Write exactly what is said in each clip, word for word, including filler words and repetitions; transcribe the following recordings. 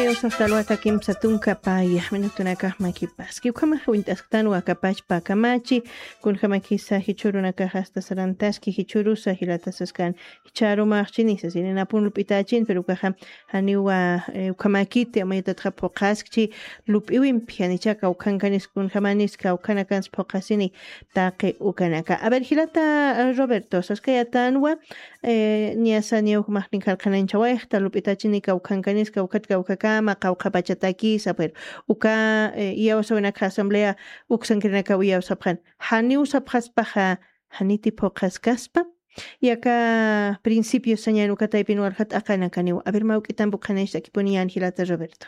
Usaxtalwata kimsa tunka paya minutunakax makipaski ukhamax wint'asktanwa kapachpa kamachi. Kunjamakisa jichhurunakax asta sarantaski jichhurusa jilatasaskan. Jichharumaxchini sasininapun lup'itachin pero ukaxa janiwa. Ukhamakiti amayatatxa phuqaskchi lup'iwimpi janichaka ukhankanis kunjamanis kawkhanakans phuqasini. Taqi ukanaka a ver jilata roberto saskayatanwa. Niyasa niya ukhamaqnin jarqananchawayxta lup'itachini kawkhankaniska ukhat kawkhakama qawqhapachatakisa pero uka iyawsawinaka asamblea uksankirinakaw iyawsapxan. Janiw sapxaspaxa janiti phuqhaskaspa. Yaka principio sañan uka taypin walja t'aqanakaniw a ver mawk'itampi ukhanaystakipuniyän jilata roberto.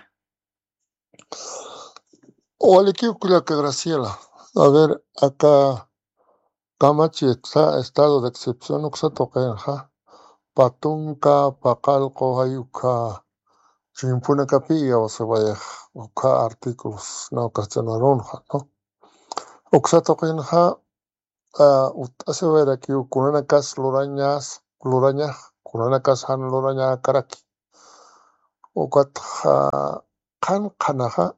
Walikiw kullaka graciela. A ver aka kamachi estado de excepción uksa tuqinxa patunka paqallqu jay ukha chimpunakapi iyawsiwayax ukha artículos nawkastinarunxa no. Uksa tuqinxa utt'asiwayrakiw kunanakas lurañas lurañax kunanakas jan lurañäkaraki. Ukatxa qhan qhanaxa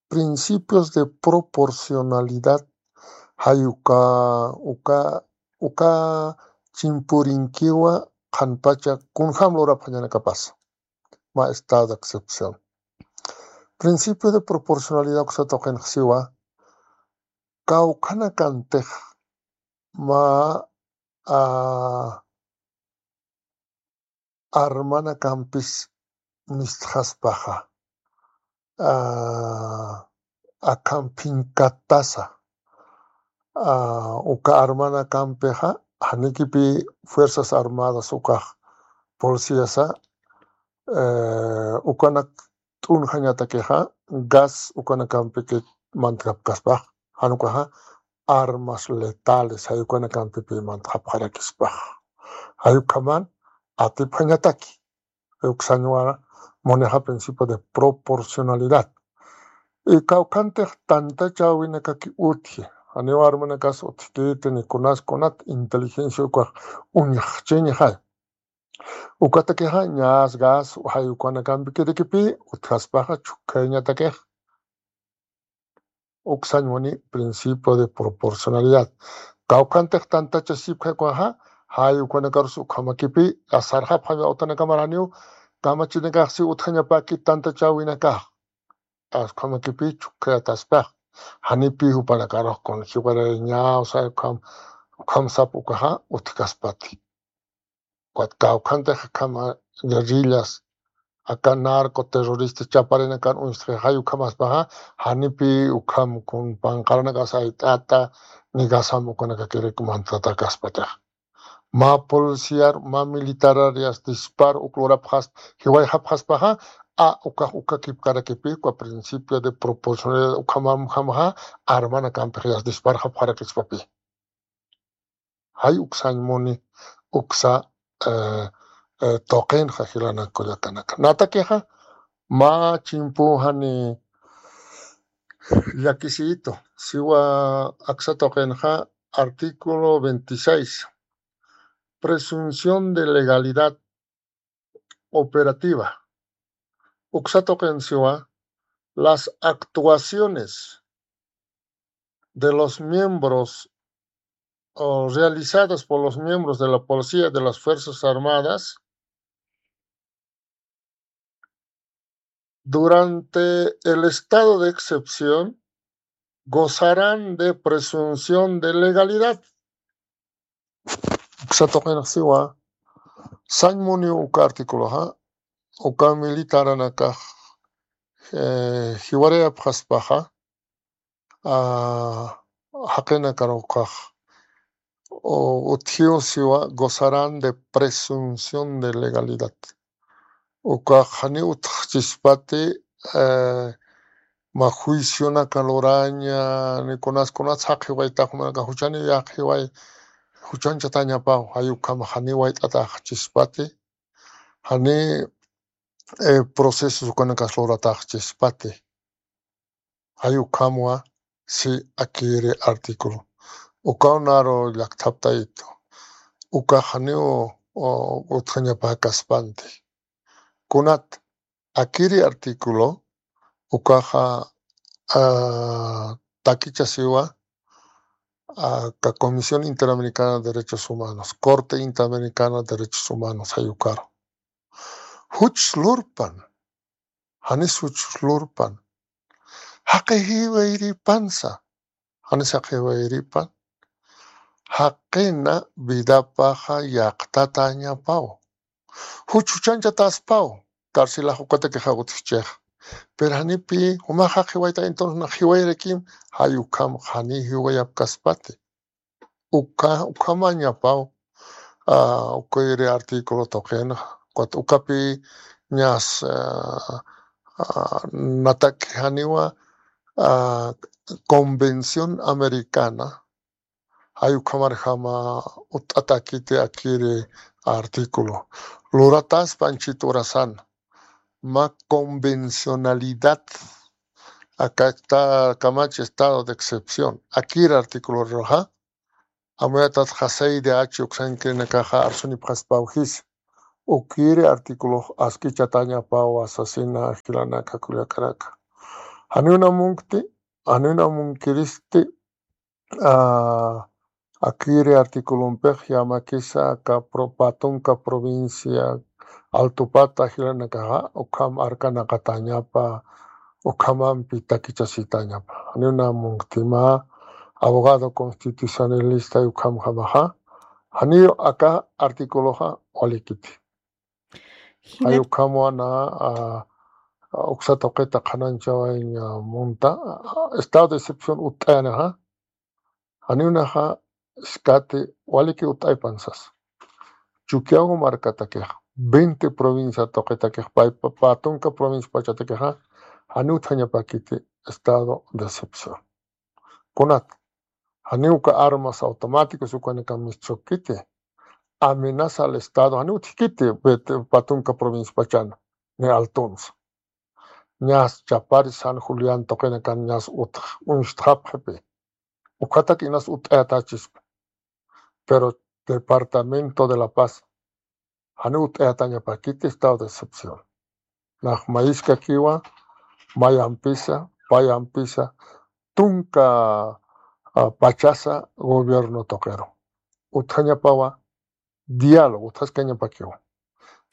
principios de proporcionalidad jay uka uka uka chimpurinkiwa qhanpacha kunjam lurapxañanakapasa. Ma estado de excepción principio de proporcionalidad uksa tuqinxsiwa kawkhanakantix ma armanakampis mistxaspaxa akham phinkatasa uka armanakampixa janikipi fuerzas armadas ukax policíasa ukanak t'unjañatakixa gas ukanakampiki mantkapkaspax jan ukaxa armas letales jay ukanakampipi mantxapxarakispax. Jay ukhaman atipxañataki uksañwa munixa principio de proporcionalidad. Kawkhantix tantachäwinakaki utji janiw armanakas utjkiti ni kunas kunat inteligencia ukax uñjchiñxay. Ukatakixa ñas gas jay ukanakampikirikipï utjaspaxa chhukkhayñatakix. Uksañ muni principio de proporcionalidad kawkhantix tantachasipkhakuxa jay ukanakarusi ukhamakipï sarxapxaña utanakamar janiw kamachinakaxsi utjañapäki tantachäwinakax. Ukhamakipi chhukkhayataspix janipï jupanakarux kun jiwarayañaw sa ukham sap ukaxa utjkaspati. Ukat kawkhantix akham guerrillas aka narco terrorista chaparinakar uñstxi jay ukhamaspaxa janipï ukham kun panqaranakas ayt'ata ni gasam ukanakakirik mantxatakaspatix. Mä policiar mä militarar yas dispar uk lurapxaspa jiwayxapxaspaxa a ukax ukakipkarakipï uka principio de proporcionalidad ukhamamjamaxa armanakampix yas disparxapxarakispapi. Jay uksañ muni uksa tuqinxa jilanak kullakanaka natakixa mä chimpu jani llakisiyitu siwa aksa tuqinxa artículo veintiséis, presunción de legalidad operativa. Uksa tuqin siwa las actuaciones de los miembros o realizadas por los miembros de la policía de las Fuerzas Armadas durante el estado de excepción gozarán de presunción de legalidad. Uksa tuqinxsiwa sañ muniw uka artículoxa uka militaranakax jiwarayapxaspaxa jaqinakarux ukax utjiw siwa gozarán de presunción de legalidad. Ukax janiw utjchispati mä juicionaka luraña ni kunas kunas jaq jiwaytax jumanakax juchaniw yaq jiway juchanchatañapaw jay ukham janiw wayt'ataxchispati janiw procesos ukanakas lurataxchispati. Jay ukhamwa si akiri artículo ukaw naru llakthaptayitu ukax janiw utjañapäkaspanti. Kunat Akiri artículo ukaxa, ah, takichasiwa, ah, ka Comisión Interamericana de Derechos Humanos, Corte Interamericana de Derechos Humanos, jay ukaru. Juch lurpan, janis juch lurpan. Jaqi jiwayripansa, janis jaqi jiwayripan. Jaqina vidapaxa yaqtatañapaw. Juch juchanchataspaw, tarsilax ukataki jawt'xchix. Pero janipi, jumax jaqi jiwayta, entonces na jiwayrakim, jay ukham jani jiwayapkaspati. Uka, ukhamañapaw, ah, ukiri artículo tuqin, ukat ukapi ñas, ah, ah, natak janiwa, ah, Convención Americana, jay ukhamarjama utt'atakiti akiri artículo. Lurataspa anchhit urasan, mä convencionalidad, aka está, kamachi estado de excepción. Akiri artículo ruxa, amuyatat jasay de achi uksankirinakaxa arsunipxaspaw jis. Ukiri artículo askichatañapaw sasina jilanaka kullakanaka. Janiw na munkti, janiw na munkiristi, ah, akiri articulompix yamakisa aka pro-, pä tunka provincia Altupata jilanakaxa, ukham arkanaqatañapa, ukhamampi takichasitañapa. Janiw na munkti mä abogado constitucionalista ukhamjamaxa, janiw aka articuloxa walikiti. Jay ukhamwa na, ah, ah, uksa tuqita qhanañchawañ, ah, munta, ah, estado de excepción utt'ayanixa, janiw naxa, iskati, waliki utt'aypan sas. Chukiyawu markatakix, veinte provincia tuqitakix, pä, pä, pä tunka provincia pachatakixa, janiw utjañapakiti estado de excepción. Kunat, janiw uka armas automáticos ukanakam mischukiti. Amenaza al Estado, janiw utjkiti, pä tunka provincia pachan, ni Altunsa. Ñas Chapari, San Julián tuqinakan ñas utx, uñstxapxipi. Ukhatak inas utt'ayatachispa. Pero Departamento de La Paz, janiw utt'ayatañapakiti estado de excepción. Nax mayiskakiwa, mayampisa, payampisa, tunka, ah, pachasa gobierno tuqiru. Utjañapawa diálogo, utjaskañapakiwa.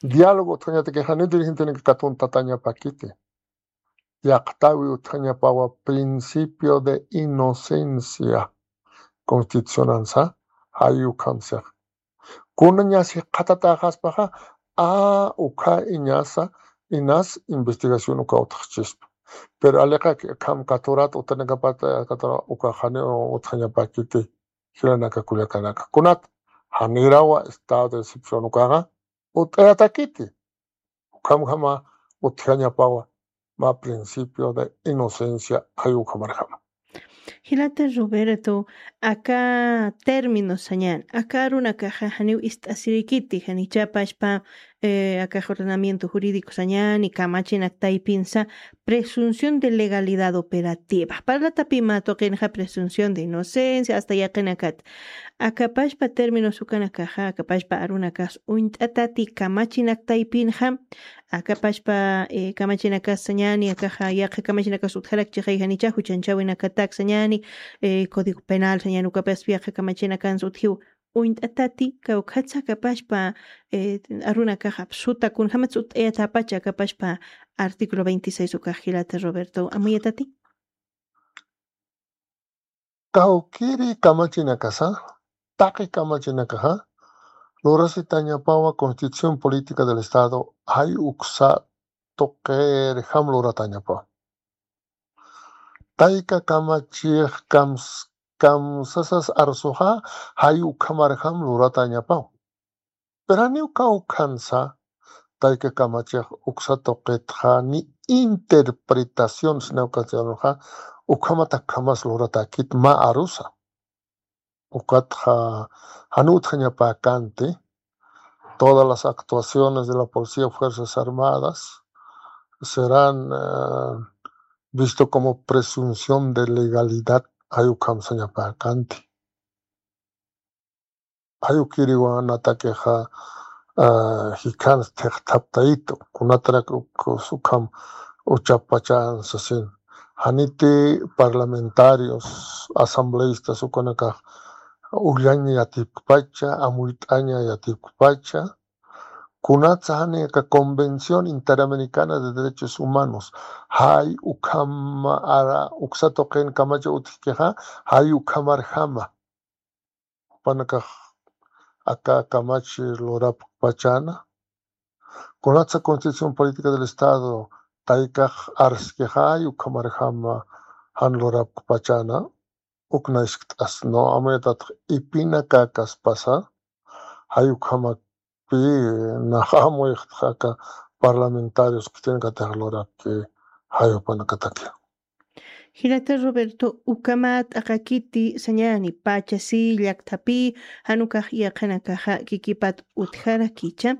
Diálogo utjañatakix janiw dirigentenaka katuntatañapakiti. Yaqtawi utjañapawa principio de inocencia. Constitucionansa, jay ukham six. Kuna ñas jikxatatäxaspaxa, a, ukha iñasa, inas investigación uka utjxchispa. Pero aliqaki akham katurat utanakapat, eh, katurat uka janiw utjañapakiti, jilanaka kullakanaka. Kunat, janirawa estado de excepción ukaxa, utt'ayatakiti. Ukhamjama utjañapawa, mä principio de inocencia, jay ukhamarjama. Jilata Roberto, aka término sañäni, aka arunakaxa janiw ist'asirikiti, janicha pachpa, eh, aka ordenamiento jurídico sañäni, kamachinak taypinsa, presunción de legalidad operativa. Parlatapï mä tuqinxa presunción de inocencia, hasta yaqinakat. Aka pachpa términos ukanakaxa, aka pachpa arunakax uñt'atati kamachinak taypinxa, aka pachpa, eh, kamachinakas sañäni, akaxa yaqha kamachinakas utjarakchixay janicha, juchanchawinakatak sañäni, eh, Código Penal sañäni, ukapaspi yaqha kamachinakansa utjiw uñt'atati, kawkhatsa aka pachpa, eh, arunakaxa apsuta, kunjamatsa utt'ayatäpacha aka pachpa artículo veintiséis ukax jilata Roberto, amuyatati. Kawkiri kamachinakasa, taqi kamachinakaxa, lurasitañapawa Constitución Política del Estado, jay uksa tuqirjam luratañapawa. Tayka kamachix kams-, kamsasas arsuxa, jay ukhamarjam luratañapawa. Pero janiw kawkhansa, tayka kamachix uksa tuqitxa ni interpretación sina ukatsiyanxa, ukhamatakjamas luratakit mä arusa. Ukatxa, janiw utjañapäkänti, todas las actuaciones de la policía o fuerzas armadas serán, eh, visto como presunción de legalidad, jay ukham sañapäkänti. Jay ukiriwa natakixa, ah, jikhan thiqthaptayitu, kunatarak uk-, ukham uchapachan sasin. Janiti parlamentarios, asambleístas ukanakax ullaña yatipkpacha, amuyt'aña yatipkpacha, kunatsa jani aka Convención Interamericana de Derechos Humanos, jay ukham ara uksa tuqin kamachi utjkixa, jay ukhamarjama. Jupanakax aka kamachi lurapkpachana. Kunatsa Constitución Política del Estado taykax arskixa, jay ukhamarjama jan lurapkpachana. Ukna iskt'as, no, amuyatax ipinakakas pasa, jay ukhamakpi nax amuyxtxa aka parlamentarios khitinakatix lurapki, jay jupanakataki. Jilata Roberto, ukhamat t'aqakiti sañani, pachasi, llakthapi, jan ukax yaqhanakaxa kikipat utjarakicha.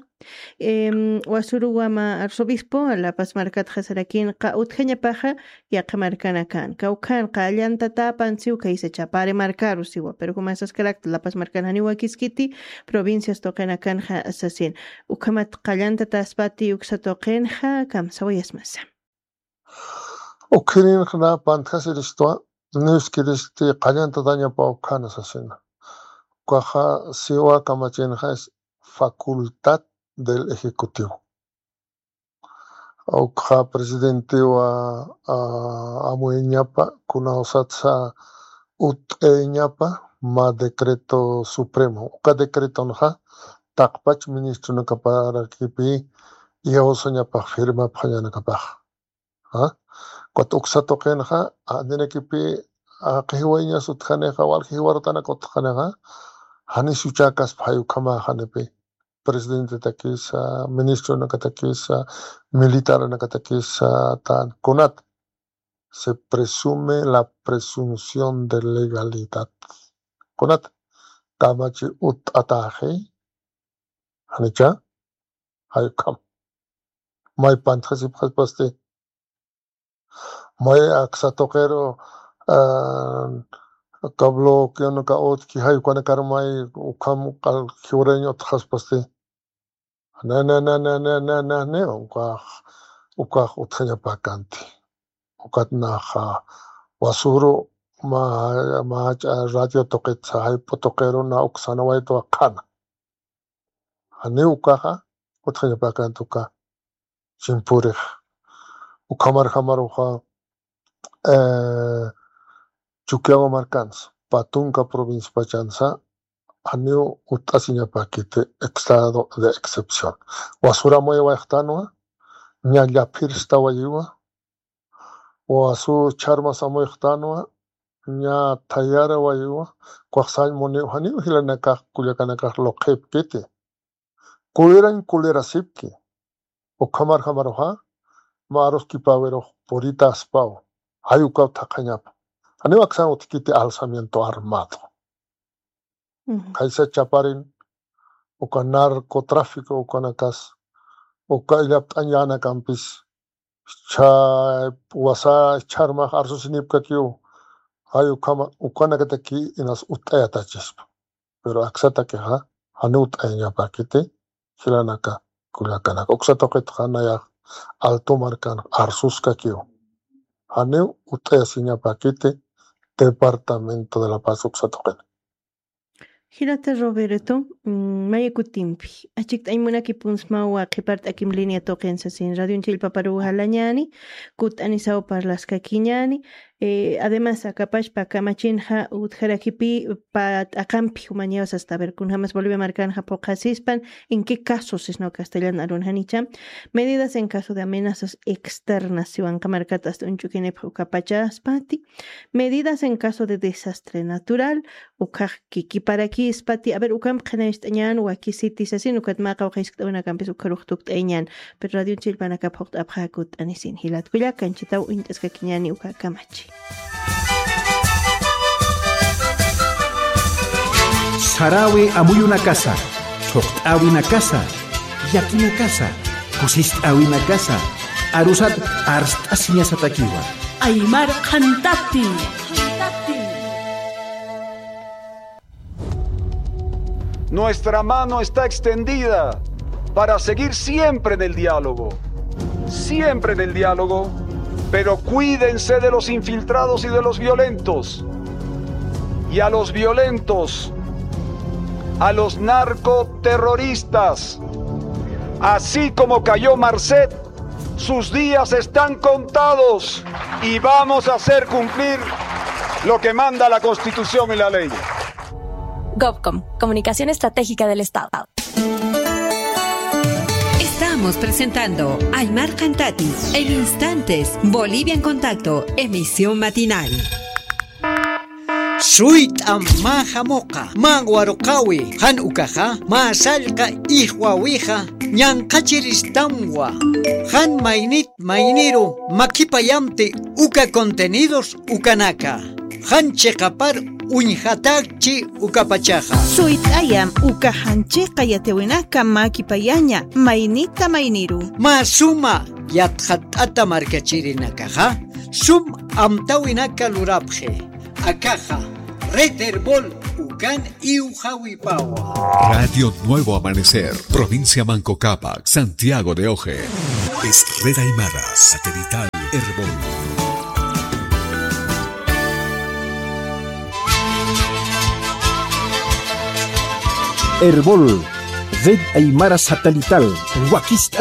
Em, Wasuru Wama arzobispo, La Paz markatxa sarakinxa utjañapaxa yaqha markanakan. Kawkhan qallantatapan siw kaysa Chapare markaru siwa, pero jumasaskarakta La Paz markan janiw wakiskiti, provincias tuqinakanxa sasin. Ukhamat qallantataspati uksa tuqinxa, kamsawayasmasa. Ukhirinxa na pantjasiristwa, niwskiristi qallantatañapa ukhana sasina. Ukaxa siwa kamachinxa es facultad del Ejecutivo. Ukxa presidentewa, ah, amuyañapa, kunawsatsa ut'ayañapa, mä decreto supremo. Uka decretonxa, taqpach ministronakaparakipi, iyawsañapax firmapxañanakapax. ¿Ah? Ukat uksa tuqinxa, ah, ninakipi, ah, qhiwayañas utjanixa, walja jiwarutanaka utjanixa, janis uchakaspa jay ukhama janipi. Presidentetakisa, ministronakatakisa, militaranakatakisa, tan, kunat. Se presume la presunción de legalidad. Kunat, kamachi ut'ataxi, janicha, jay ukham. May pantjasipxaspasti. May aksa tuqiru, ah, aka bloqueonaka utjki jay ukanakar may ukham qal jiwarayañ utjaspasti. Na, na, na, ukax, ukax utjañapakanti. Ukat naxa, Wasuru, mä, mä ch'a radio tuqitsa jayp'u tuqiru na uksanawaytwa qhana. Janiw ukaxa, utjañapakanti uka chimpurix. Ukhamarjamaruxa, eh, Chukiyawu markansa, Patunka provincia pachansa, janiw ut'asiñapakiti estado de excepción. Wasur amuyawayxtanwa, ña llaphirstawayiwa, Wasu chharmas amuyxtanwa, ña thayarawayiwa, ukax sañ muniw janiw jilanakax kullakanakax luqhipkiti. Kulirañ kulirasipki. Ukhamarjamaruxa, mä aruskipawirux puritaspaw, jay ukaw thaqhañapa. Janiw aksan utjkiti alzamiento armado. Ujú. Khaysa Chaparin, uka narcotráfico ukanakas, uka illapt'añanakampis, chha, wasa chharmax arsusinipkakiw, jay ukhama, ukanakataki inas ut'ayatachispa. Pero aksatakixa, janiw ut'ayañapakiti, jilanaka, kullakanaka. Uksa tuqitxa nayax, Alto markan arsuskakiw. Janiw ut'ayasiñapakiti, Departamento de La Paz uksa tuqina. Jilata Roberto, mm, maya kutimpi, achikt'añ munakipunsmawa qhipart'akim línea tuqin sasin, radioñ chillpaparuw jalañäni, kutt'anisaw parlaskakiñäni, eh, además, akapachpa kamachinxa utjarakipï pä t'aqampi jumañaw sasta, a ver, kunjamas Bolivia markanxa phuqhasispan, en qué casos, sisnaw castellan arun janicha, medidas en caso de amenazas externas, siwanqa markat asta uñch'ukinipx ukapachaspati, medidas en caso de desastre natural, ukhax kikiparakispati, a ver, ukamp qhinañcht'añän wakisiti sasin, ukat mä qawqha jiskt'awinakampis ukharux tukt'ayañän, pero radioñ chillpanakap phuqt'apxä kutt'anisin, jilat kullaka, anchhitaw uñt'askakiñäni uka kamachi. Saräwi amuyunakasa, thuqt'äwinakasa, llakinakasa, kusist'äwinakasa, arusat arst'asiñasatakiwa. Aymar Qhantati. Nuestra mano está extendida para seguir siempre en el diálogo, siempre en el diálogo, pero cuídense de los infiltrados y de los violentos. Y a los violentos, a los narcoterroristas, así como cayó Marcet, sus días están contados y vamos a hacer cumplir lo que manda la Constitución y la ley. Govcom, Comunicación Estratégica del Estado. Estamos presentando Aymar Cantati. En instantes, Bolivia en Contacto, emisión matinal. Suyt'am mä jamuqa, mä waruqäwi, jan ukaxa, mä sallqa ijwawixa, ñanqhachiristamwa, jan maynit mayniru makipayamti uka contenidos ukanaka. Jan chiqapar uñjatäkchi ukapachaxa. Suyt'ayam uka jan chiqa yatiwinaka makipayaña maynita mayniru. Mä suma yatxatt'ata markachirinakaxa, sum amtawinaka lurapxi. Akaxa, Red Erbol, ukan iwxawipawa. Radio Nuevo Amanecer, provincia Manco Cápac, Santiago de Oje. Es Red Aymara, satelital Erbol. Erbol, Red Aymara Satelital, wakist'an